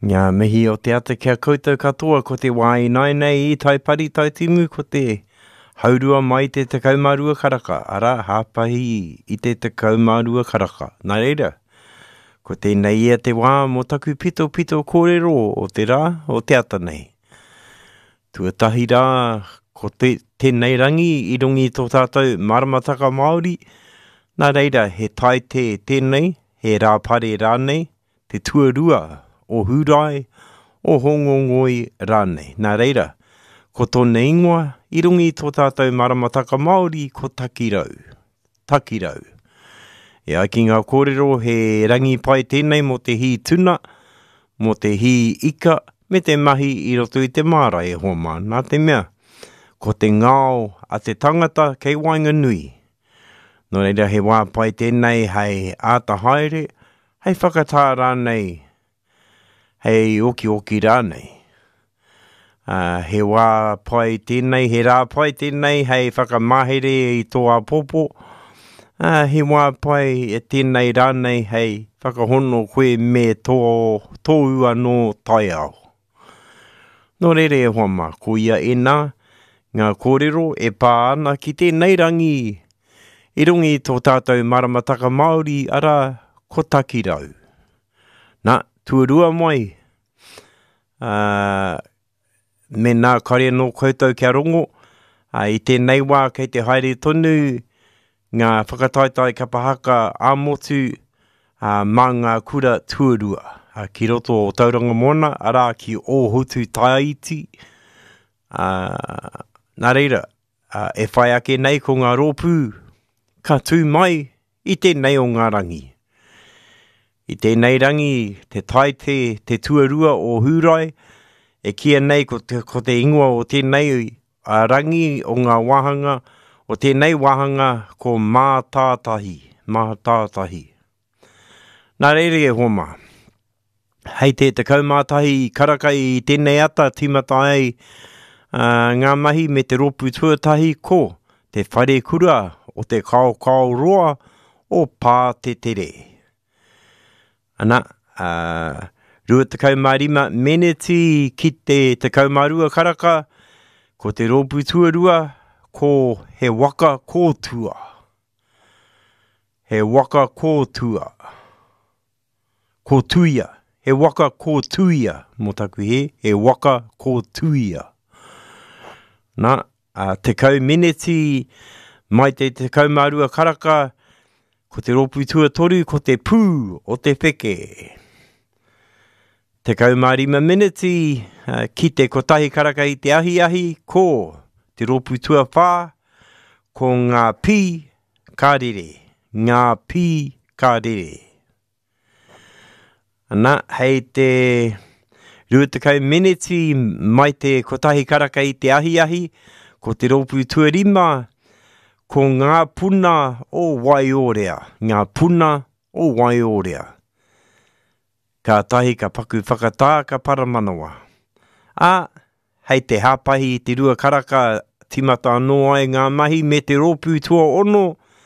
Ngā mihi o te ata ki a koutou katoa ko te wā ināianei i Taipari Taitimu ko te haurua mai te 12 karaka, arā, hāpahi i te 12 karaka. Nā reira, ko tēnei ia te wā mō taku pitopito kōrero o te rā, o te ata nei. Tuatahi rā, ko te, tēnei rangi i runga i tō tātou maramataka Māori, nā reira he taite tēnei, he rāpare rānei, te tuarua o Hūrae, o Hōngongoi rānei. Nā reira, ko tōna ingoa i runga i tō tātou maramataka Māori ko Takirau. Takirau. E ai ki ngā kōrero he rangi pai tēnei mō te hī tuna, mō te hī ika, me te mahi i roto i te māra e hoa mā. Nā te mea, ko te ngao a te tangata kei waenganui. Nō reira he wā pai tēnei hei āta haere, hei whakatā rānei, hei okioki rānei. Ā, he wā pai tēnei, he rā pai tēnei hei whakamahere i tō āpōpō. Ā, he wā pai tēnei rānei hei whakahono koe me tō, tōu anō taiao. Nō reira e hoa mā, ko ia ēnā ngā kōrero e pā ana ki tēnei rangi i runga i tō tātou maramataka Māori, arā, ko Takirau. Nā, tuarua mai, ā, mēnā kare anō koutou kia rongo, ā, i tēnei wā kei te haere tonu ngā whakataetae kapa haka ā-motu ā, mā ngā kura tuarua ā, ki roto o Tauranga Moana, arā, ki Ōhotu Tāiti. Ā, nā reira, ā, e whai ake nei ko ngā rōpū ka tū mai i tēnei o ngā rangi. I tēnei rangi, te taite, te tuarua o Hūrae, e kīia nei ko te, ko te ingoa o tēnei a rangi o ngā wāhanga, o tēnei wāhanga ko Mātātahi, Mātātahi. Nā reira e hoa mā, hei te 11 karaka i tēnei ata tīmata ai uh, ngā mahi me te rōpū tuatahi ko Te Wharekura o Te Kaokao Roa o Pātetere. Ana, ā, 25 meneti ki te 12 karaka, ko te rōpū tuarua, ko He Waka Kōtua. He Waka Kōtua. Kōtuia. He Waka Kōtuia, mō taku hē, He Waka Kōtuia. Nā, ā, 10 meneti mai te 12 karaka, ko te rōpū tuatoru ko te pū o te wheke. 15 meneti ki te kotahi karaka i te ahiahi, ko te rōpū tuawhā, ko ngā pī ka rere, ngā pī ka rere. Ana, hei te 20 meneti mai te kotahi karaka i te ahiahi, ko te rōpū tuarima, ko ngā puna o Waiorea, ngā puna o Waiorea. Kātahi ka paku whakatā ka paramanawa. Ā, hei te hāpahi i te rua karaka tīmata anō ai ngā mahi me te rōpū tuaono,